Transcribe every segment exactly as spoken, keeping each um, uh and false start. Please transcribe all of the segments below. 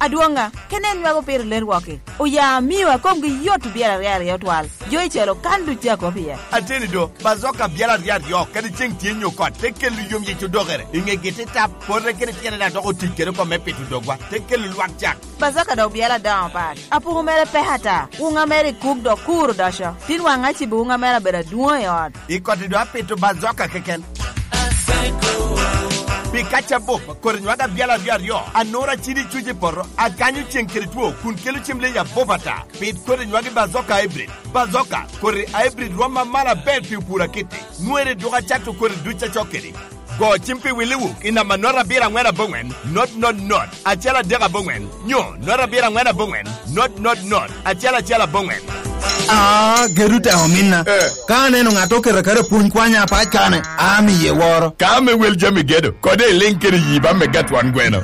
Adwoŋ ŋa? Kene en nywako pire ler wok-ki. Oya amio a komgi yot obyelo aryo aryo twal. Jo i celo kan duc tye akop iye. Ateni do, bazoka abyelo aryo aryo, kadi ceŋ tye nyo kot, te kelo yom yic odokere. I ŋegi te tap, pote kede tyene daŋ dok otic kede oko me pito dogwa, te kelo lwak cak. Bazoka dok obyelo adoŋo pat. Apuku mere pek ata. Wuŋa mere i kuk dok kur odoco. Tin waŋ acibo wuŋa mere abedo adwoŋ i ot. I koti do apito bazoka keken. Pi kaca bup, kodi nywag abyel aryo aryo, anura cidi cuc i poto, akanyo ceŋ kede two, kun kelo cem leyi abup ata. Pit kodi nywag i bazoka hybrid. Bazoka, kodi hybrid rwom amalo aber pi opur akitti. Nwere duk acato kodi duc acok kedi. Go cim pi Willi Wuk i namba not abiro aŋwen aboŋwen, not not not, acel adek aboŋwen, nyo not abiro aŋwen aboŋwen, not not not, acel acel aboŋwen. Ah, gedo tek ominna. Eh. Ka aneno ŋat oketo aketa pwony kwanya apac kane, amiye woro. Ka ame wel jami gedo, kode iliŋ kede yi ba mega twon gweno.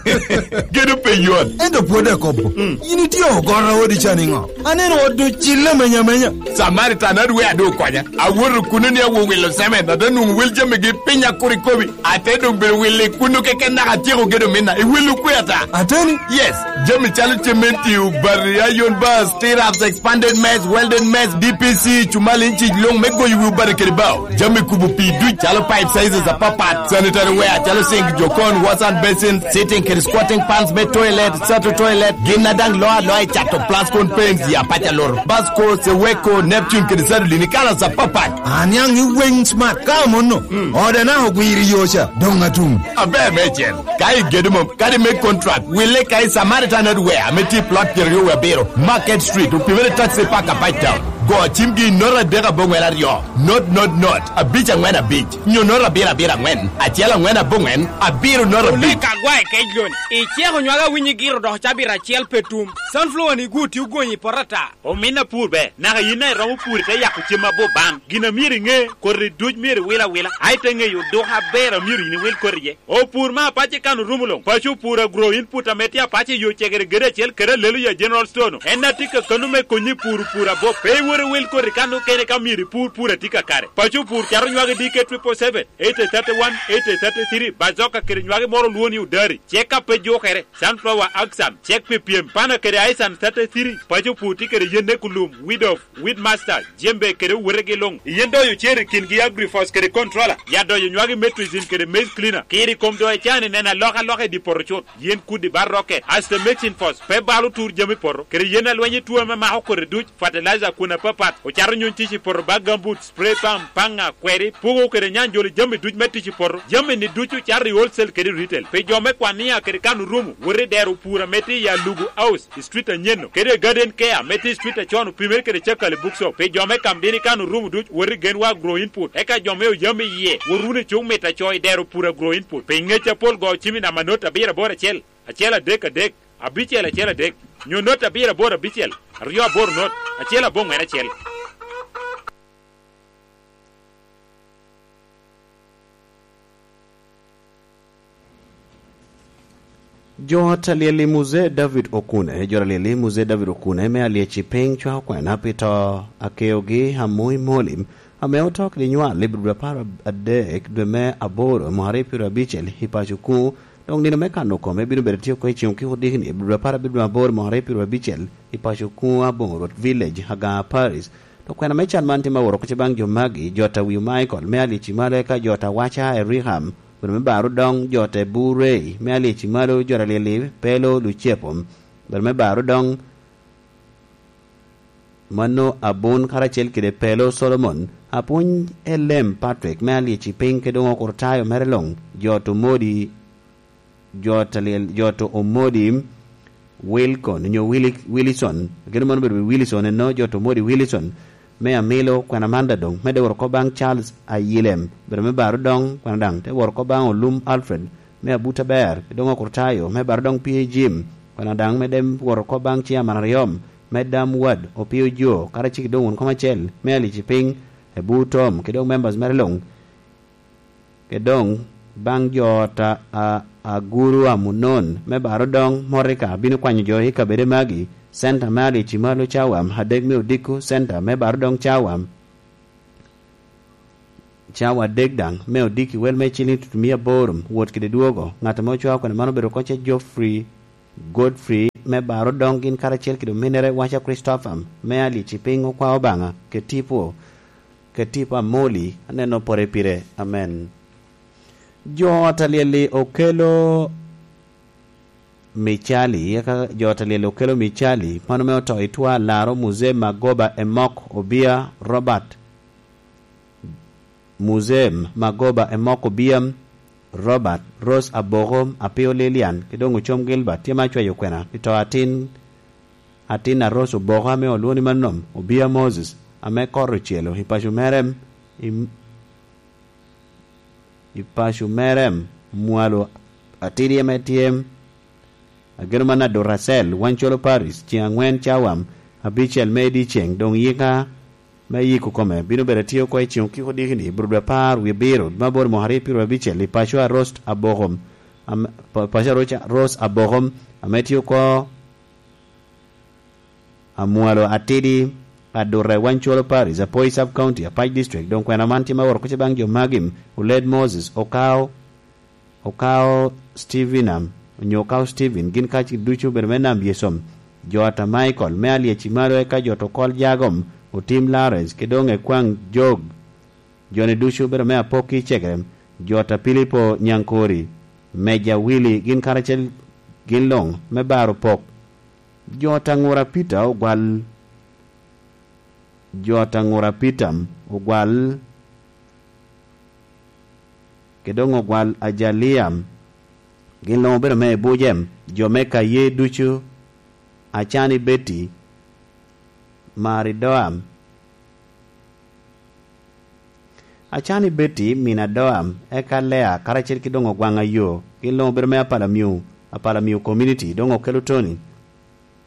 Gedo pe yot. Ento pwod akobo. Mm. In itye ogoro odi ca niŋo? Aneno ot ocille menya menya. Samaritan adwe adu okonya. Awoto kuno ni awo wilo cement, ate nwoŋo wel jamigi piny akur ikobi. Ate doŋ bedo wilo i kuno keken naka atyeko gedo minna. I wilo kwe ata? Ateni? Yes. Jami calo cementi, obati, iron bars, stirrups, expanded mess, welded mess, D P C, cumal inci luŋ me goyo wi obati kede bao. Jami kubo pii duc calo pipe sizes apapat, sanitary ware calo sink, jokon, wash and basin, sitting kede squatting pans me toilet, sato toilet, gin a daŋ loo aloa i cato Plascon Paints i apac alur, Basco, Seweko, Neptune kede Sadolin i kalas apapat. Aniaŋ i weng smart ka amono. Mm. Ode na ogwiro i yo ca, doŋ atum. Aber meicel, ka igedo mom, kadi me contract, wille ka i Samaritan Hardware ame tye i plot pyeraryo wie abiro, Market Street, opimere taxi park apac town. Go cimgi i note adek aboŋwen aryo, not not not, abic aŋwen abic, nyo note abiro abiro aŋwen, acel aŋwen aboŋwen, abiro note abic. Olika gwa i kec loni, iceko nywaka winyi giro dok cabit acel pe tum. Sunflower ni gwo tye ogonyi i poto ata. Omin apur be, naka yin a iromo pur ite yako cem abup ban. Gin a myero iŋe, koti duc myero iwil awila, a ite ŋeyo oduka aber a myero yin iwil koti iye. Opur me apac i kan orumo luŋ. Paco opur agro input ame tye apac i yo cegere gedo acel kede Aleluya General Store-nu. En a tye kakano me konyi i puro pur abup. Pe iwot iwil koti kan okene ka myero ipur pur a tye kakare. Paco opur cato nywagi D K triple seven, eight thirty-one, eight thirty-three, bazoka kede nywagi moro olwongo ni odari. Cek a pe jukere, sunflower axan, cek pi pyem, pana kede aisan thirty-three, paco opur tye kede yen ekulum, weed of, Weedmaster, jembe kede owotegi luŋ. Yen doyo cer i kingi Agrifos kede Controller. Ya doyo nywagi Metrizin kede Maize Cleaner. Kiri kom doyo can i neno alokaloka i dye poto cut. Yen kudi bar rokke. Asto Mexin Fos, pe balo tur jami poto. Kede yen alweny i tuo ame mako kodi duc. Fertilizer kun apapat. Ocato nyuny tic i poto ba gambut, spray pump, paŋa, kweri, pugo kede nyanjolo jami duc me tic i poto. Jami ni ducu cato i wholesale kede retail. Pi jo me kwania kede kan orumo, wot i dero pur ame tye i Alugu House. I street anyen-nu, kede Garden Care me tye i street acon opimere kede Cakali Bookshop. Pi jo me Kamdini kan orumo duc, wot i Genwa Agro Input. Eka jo me Oyam iye, wot wunu i cuk mit aco i dero pur Agro Input. Pi ngec apol go cim i namba not abiro aboro acel, acel adek adek, abicel acel adek, nyo not abiro aboro abicel, aryo aboro not, acel aboŋwen acel. Jo ot a lyel i Muzee David Okune, jo a lyel i Muzee David Okune me Alyec i Piny cwako kwena pi to a keogi Amoi Molim, ame oto kede nywal i dwe apar adek dwe me aboro mwaka aryo pyeraryo abicel i paco kuŋ. Dok nino me kano kome bino bedo tye oko i ceŋ okiko dikni i dwe apar abiro dwe aboro mwaka aryo pyeraryo abicel i paco kuŋ Aboŋo Rwot Village, Agaa Parish. Dok kwena me can man tye ma woro oko baŋ jo magi, jo ta Wiu Michael me Alyec i Malo, eka jo ta Waca Eriham, bene me Baro Doŋ, jo ta Burei me Alyec i Malo, jo ta Lyeli Pelo Lucepo, bene me Baro Doŋ, mano Abun karacel kede Pelo Solomon, Apwony Elem Patrick me Alyec i Piny, kede Oŋo Kurtayo mere luŋ, jo ta Omodi, jo ta Lyel, jo ta Omodi Wilcon, nyo Willi-, Willison, kede mano obedo Willison eno, jo ta Omodi Willison, me Amilo, kwena man daŋ doŋ medde woro oko baŋ Charles Ayilem, obedo me Baro Doŋ, kwena daŋ te woro oko baŋ Olum Alfred, me Abuta Ber, kede Oŋo Kurtayo, me Baro Doŋ P A Jim, kwena daŋ medde woro oko baŋ Chairman Aryom, me Dam Ward, Opio Jo, karacel kede Oŋun Kom Acel, me Alyec i Piny, Ebu Tom, kede Oŋ members mere luŋ, kede doŋ baŋ jo ot a, a, Aguru Amunon me Baro Doŋ, Morika bino kwanyo jo i kabede magi, Center me Alyec i Malo Cawam, adek me Odiko Center me Baro Doŋ Cawam, cawa adek daŋ me Odiko i wel me ciliŋ tutumia aboro, wot kede dwogo. Ŋat ame ocwao kwena man obedo oko ce Geoffrey Godfrey me baro doŋ gin karacel kede ominere waca Kricitopher me Alyec i piny okwa Obaŋa, kede tipo, kede tipo Amoli, aneno pore pire. Amen. Jo ot alyel-li okelo Micali, eka jo ot alyel okelo Micali, mano me oto i twa Alaro, Muzee Magoba Emok Obia, Robert, Muzee Magoba Emok Obia, Robert, Rose Aboko, Apio Lilian, ki doŋ Ocom Gilbert, tye ma acwayo kwena, i to atin, atin a Rose Oboko ame olwoŋo ni Manom, Obia Moses, ame kor ocelo i paco mere, i, i paco mere, mwalo atidi ame tye Ageno man Aduracel, Wancolo Paris, ceŋ aŋwen cawa abicel me dyeceŋ, doŋ yika me yiko kome bino bedo atye oko i ceŋ okiko dikini, Burudwe apar wie abiro, me aboro mwaka aryo pyeraryo abicel, i paco a Rost Abokom, am-, pa-, paco a Roca-, Rose Abokom, ame tye oko Amwalo Atidi, Adurre, Wancolo Paris, Apoi Sub County, Apac District. Doŋ kwena man tye ma woro kuca baŋ jo magi, Oled Moses, Okao, Okao Steven am, onyo Okao Steven, gin kacgi ducu obedo me Nam Yesom, jo ata Michael, me Alyec i malo, eka jo to Kol Jagom, Otim Lawrence, ki doŋ Ekwaŋ Jog, joni ducu obedo me Apokki Cegere, jo ata Pilipo Nyankori, Meja Willy, gin karacel gin luŋ me baro pok. Jo ata Ŋura Peter ogwal, jo ata Ŋura Peter ogwal, ki doŋ ogwal Ajalia, gin luŋ obedo me Ebujem, jo me Kaye ducu, Acani Betty, Maridoam, Acani Betty, min Adoam, eka Lea, karacel ki doŋ Ogwaŋ Ayo, gin luŋ obedo me Apalamio, Apalamio Community, doŋ okelo Tony,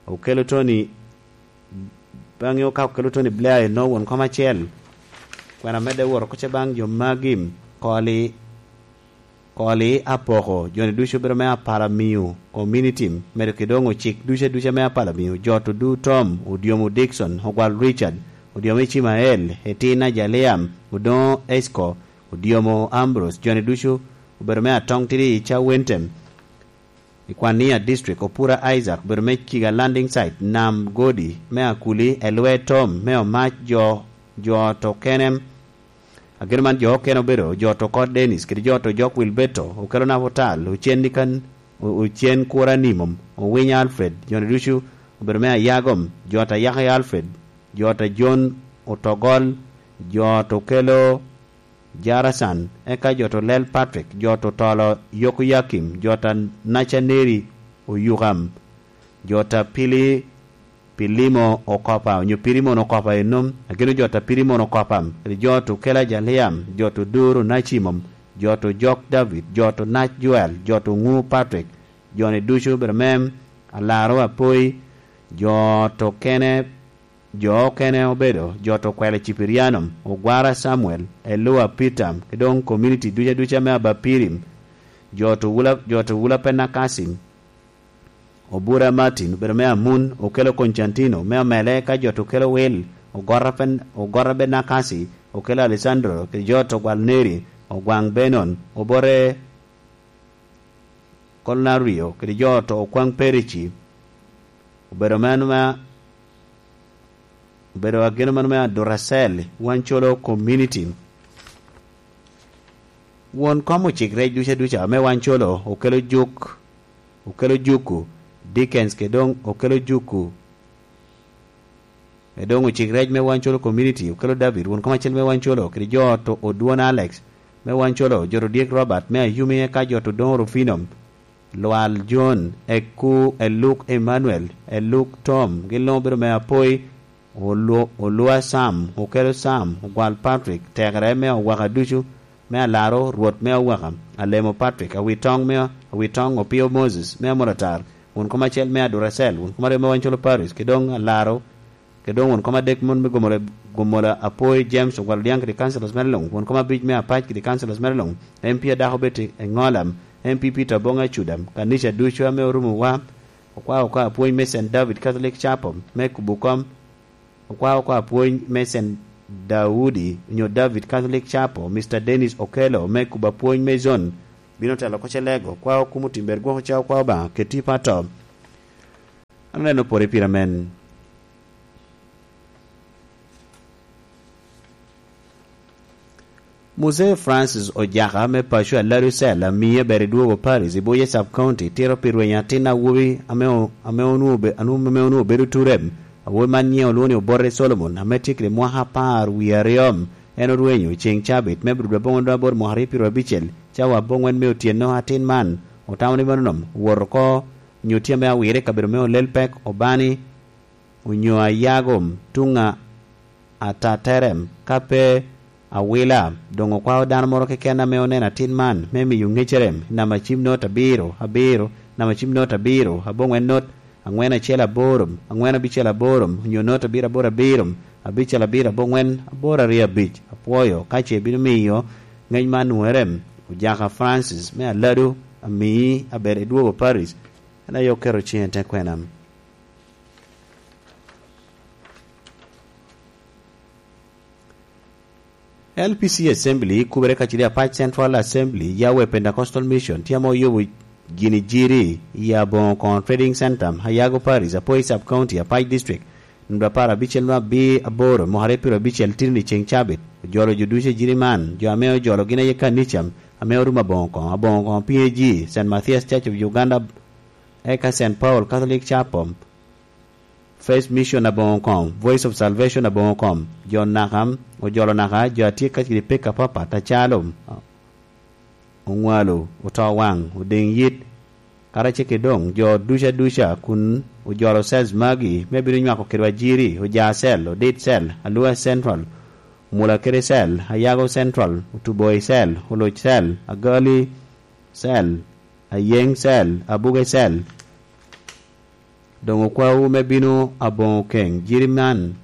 okelo Tony, baŋe ka okelo Tony Blair eno won kom acel, kwena medde woro kuca baŋ jo magi, Koli, Koli Apoko, joni ducu obedo me Apalamio Community, medo ki doŋ ocik duca duca me Apalamio, jo to du Tom, Odiomo Dickson, Ogwal Richard, Odiomo Icimael, Etin Ajalia, Odoŋo Esco, Odiomo Ambrose, joni ducu obedo me Atong Tidi i Cawentem, i Kwania District, Opura Isaac, obedo me Kiga Landing Site, Nam Godi, me Akuli, Elwe Tom, me Omac, jo, jo to Kenem, Ageno man jo okene obedo, jo to Kot Dennis, kede jo to Jok Wilberto, okelo Naputal, Ocen Nikan, O-, Ocen Kura Nimom, Owiny Alfred, joni ducu obedo me Ayagom, jo ta Yaka Alfred, jo ta John Otogol, jo to kelo Jarasan, eka jo to Lel Patrick, jo to Tolo Yokoyakim, jo ta Nacaneri Oyukam, jo ta Pili Pilimo Okopa, onyo Pirimon Okopa enom, ageno jo ta Pirimon Okopa, kede jo to Kela Jaliam, jo to Doro Nacimom, jo to Jok David, jo to Nac Joel, jo to Ŋu Patrick, joni ducu obedo mem, Alaro Apoi, jo to kene, jo okene obedo, jo to Kwele Cipirianom, Ogwara Samuel, Elua Peter, ki doŋ community duca duca me Abapirim, jo to Wula, jo to Wula Penakasi, Obura Martin obedo me Amun, okelo Constantino me Omele, ka jo to kelo Wil, Ogorra Pen-, Ogorra Benakasi, okelo Alessandro, kede jo to Gwal Neri, Ogwaŋ Benon, Obote Kolnario, kede jo to Okwaŋ Perici, obedo meno me, obedo ageno mano me Aduracel, Wancolo Community. Won kom ocik rec duca duca me Wancolo, okelo Juk, okelo Juku, Dickens, kede doŋ okelo Juku, kede doŋ ocik rec me Wancolo Community, okelo David, won kom acel me Wancolo, kede jo to Odwon Alex, me Wancolo, jo to Dyek Robert, me Ayumi, eka jo to Doŋo Rufino, Lwal John, Eku, Eluk Emmanuel, Eluk Tom, gin luŋ obedo me Apoi, Olu-, Olua Sam, Okelo Sam, Ogwal Patrick, Tekere me Owaka ducu, me Alaro, Rwot me Owaka, Alemo Patrick, Awitoŋ me, Awitoŋ Opio Moses, me Amolatar, won kom acel me Aduracel, won kom aryo me Wancolo Paris, ki doŋ Alaro, ki doŋ won kom adek mon me Gomola, Gomola Apoi James Ogwal Odiaŋ kede councilors mere luŋ, won kom abic me Apac kede councilors mere luŋ, M P adako Betty Eŋolam, M P Peter Oboŋ Acudam, kanica ducu ame orumo wa, okwao oko apwony me Saint David Catholic Chapel me kubo kom, okwao oko apwony me Saint Daudi onyo David Catholic Chapel, Mister Dennis Okello me kubo apwony me zone, bino telo oko Celego, okwao kumo timber gwoko ca okwao Obaŋa keti pato. Aneno pwod i pira men. Muse Francis Ojaka me paco Aladu Cell, amii aber i dwogo Paris i Buye Sub County, tito pi rwenyo atin awobi ame o-, ame onwoŋo obe-, ame onwoŋo bedo Turem. Awobi man nyiŋe olwoŋo ni Obote Solomon, ame tye kede mwaka apar wie aryo. En orwenyo ceŋ cabit me Aburudu aboŋwen dwe aboro mwaka aryo pyeraryo abicel, cawa aboŋwen me otyeno. Atin man otamo ni mano nom owoto oko, onyo tye ame awire i kabedo me Olelpek, Obani, onyo Ayagom, tuŋ a Ataterem, ka pe Awila. Doŋ okwao dano moro keken ame oneno atin man, me miyo ŋecerem i namba cim not abiro, abiro, namba cim not abiro, aboŋwen not, aŋwen acel aboro, aŋwen abicel aboro, onyo not abiro aboro abiro, abicel abiro aboŋwen, aboro aryo abic. Apwoyo ka ce ibino miyo ŋec man nwoŋere. Ojaka Francis me Aladu, amii aber i dwogo Paris, en aye oketo ciŋe i te kwena. L P C Assembly, kubere kacel i Apac Central Assembly, Yahweh Pentecostal Mission, tye ame oyubo gini jiri i Aboŋo Koŋo Trading Center, Ayago Parish, Apoi Sub County, Apac District, namba apar abicel nwa abir aboro, mwaka aryo pyeraryo abicel, tini ceŋ cabit. Ojolo jo ducu i jiri man, jo ame ojolo gin aye kanica ame orumo Aboŋo Koŋo, Aboŋo Koŋo P A G, Saint Matthias Church of Uganda, eka Saint Paul Catholic Chapel, First Mission Aboŋo Koŋo, Voice of Salvation Aboŋo Koŋo, jo naka, ojolo naka, jo a tye kacel i pek apapat, acalo oŋwalo, oto waŋ, odeŋ yit, karacel kede doŋ jo duca duca kun ojolo cells magi me bino nywako kedwa jiri, Oja Cell, Odit Cell, Alua Central, Omula kede Cell, Ayago Central, Otuboi Cell, Oloc Cell, Agali Cell, Ayeŋ Cell, Abuge Cell. Doŋ okwawu me bino Aboŋo Keŋ. Jiri man,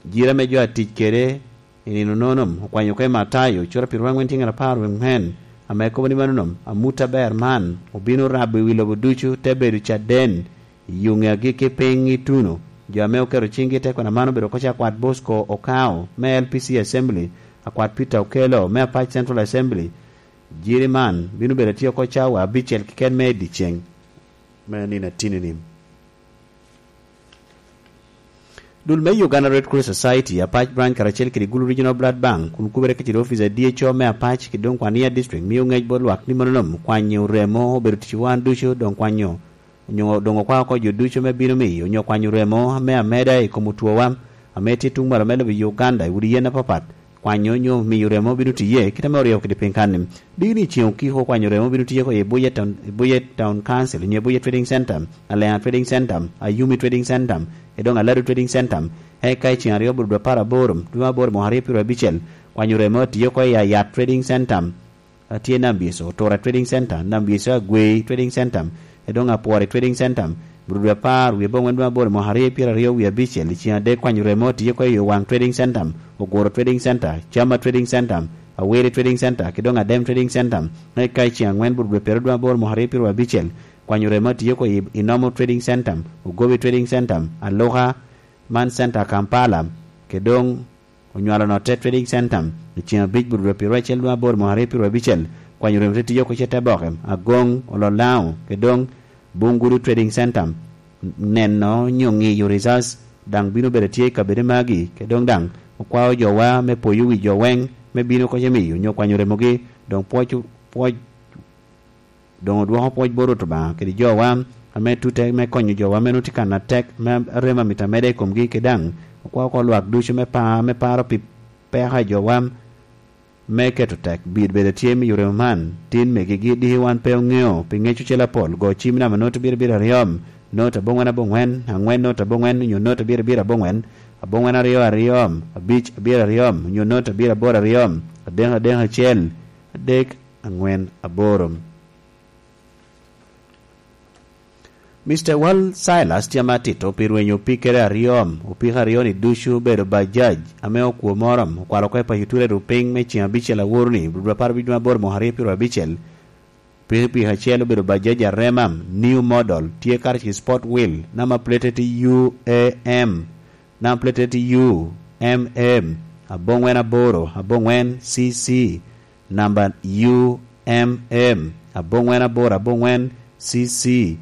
jiri ame jo atic kede i nino nono, okwanyo oko i Matayo, cura pyeraryo aŋwen tye ŋet apar wie aŋwen, ame kobo ni mano nom, amut aber man obino rabo i wi lobo ducu, te bedo caden i yuŋe agikki piny ituno. Jo ame oketo ciŋgi i te kwena man obedo oko ca kwat Bosco Okao me L P C Assembly, akwat Peter Okello me Apac Central Assembly. Jiri man bino bedo atye oko cawa abicel keken me i dyeceŋ me nino atini-ni. Dul me Uganda Red Cross Society, Apac Branch karacel kede Gulu Regional Blood Bank, kun kubere kacel ofice a D H O me Apac kede doŋ kwan Yia District, mio ŋec bot lwak ni mano nom kwanyo remo obedo tic wan ducu, doŋ kwanyo, onyo doŋ okwao oko jo ducu me bino miyo onyo kwanyo remo me ameda i kom otwowa, ame tye tuŋ malo me lobo Uganda i udi yen apapat. Kwanyo onyo miyo remo bino tiye kit ame oryeko kede piny kan-ni. Diki ni ceŋ okiko kwanyo remo bino tiye oko i Buye Town, i Buye Town Council, onyo i Buye Trading Center, Alea Trading Center, Ayumi Trading Center, edoŋ Aladu Trading Center. Eka i ceŋ aryo bur dwe apar aboro, dwe me aboro mwaka aryo pyeraryo abicel, kwanyo remo tiye oko i Ayat Trading Center, a tye Nambyeco, Tura Trading Center, Nambyeco Agwei Trading Center, edoŋ Apwori Trading Center, bur dwe apar, wie aboŋwen dwe aboro mwaka aryo pyeraryo wie abicel, i ceŋ adek kwanyo remo tiye oko i Owaŋ Trading Center, Oguro Trading Center, Chama Trading Center, Aweri Trading Center, kede doŋ Adem Trading Center. Eka i ceŋ aŋwen bur dwe pyeraryo dwe aboro mwaka aryo pyeraryo abicel, kwanyo remo tiye oko i Inomo Trading Center, Ogobi Trading Center, Aluka man Center Kampala, kede doŋ Onywalo Notte Trading Center. I ceŋ abic bur dwe pyeraryo acel dwe aboro mwaka aryo pyeraryo abicel, kwanyo remo te tiye oko cete boke, Agoŋ, Ololaŋo, kede doŋ Bungudu Trading Center. Neno onyo ŋiyo results daŋ bino bedo tye i kabedo magi, kede doŋ daŋ okwao jowa me poyo wi jo weŋ me bino oko cemiyo onyo kwanyo remogi, doŋ pwoc, pwoc, doŋ odwoko pwoc bot Rwot Obaŋa kede jowa ame tute me konyo jowa ame nwoŋo tye kan atek me remo amito ameda i komgi, kede daŋ okwao oko lwak ducu me pa, me paro pi peko a jowa me keto tek. Bit bedo tye miyo remo man tin megigi diki wan pe oŋeo, pi ŋec ocel apol, go cim namba not abiro abiro aryo, not aboŋwen aboŋwen, aŋwen not aboŋwen, onyo not abiro abiro aboŋwen, aboŋwen aryo aryo, abic abiro aryo, onyo not abiro aboro aryo, adek adek acel, adek aŋwen aboro. Mister Wal Silas tye ame atito pi rwenyo opikere aryo, opiko aryo-ni ducu obedo Bajaj ame okwo moro, okwalo oko i paco Ture Rupiny me ceŋ abicel aworo-ni, bur dwe apar abic dwe aboro mwaka aryo pyeraryo abicel. Pikipiki acel obedo Bajaj Arema, new model, tye karacel Sport Wheel, namba plate tye U A M, namba plate tye U M M, aboŋwen aboro, aboŋwen C C, namba U M M, aboŋwen aboro, aboŋwen C C.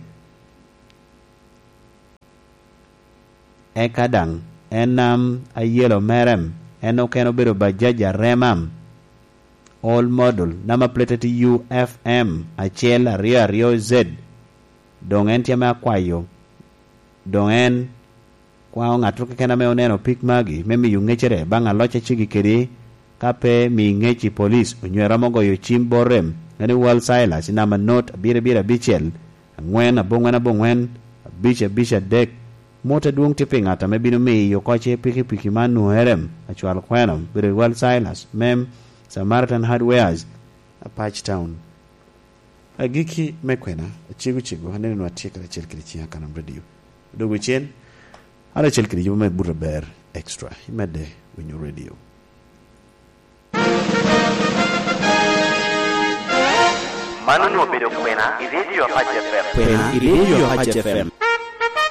Eka daŋ en nam ayelo merem, en okene obedo Bajaj Aremam, All Model, namba plate tye U F M acel aryo aryo Z. Doŋ en tye ame akwayo, doŋ en kwaŋo ŋattoro keken ame oneno pik magi me miyo ŋecere baŋ aloc a ceggi kede, ka pe mi ŋec i polic, onyo eromo goyo cim bot rem, en i Wal Silas i namba not abiro abiro abicel, aŋwen aboŋwen aboŋwen, abic abic adek. Mot adwoŋ tye pi ŋat ame bino miyo oko ce pikipiki man nwoŋo erem, acwal kweno, bedo i Wal Silas, mem Samaritan Hardwares, Apac Town. Agikki me kwena, acego cego, aneno nwa tye karacel kede ciŋ Akanam Radio. Dogo cen, an acel kede yubo me buto aber, extra, imedde winyo radio. Man onwoŋo obedo kwena i Radio Apac F M. Kwena i Radio Apac F M.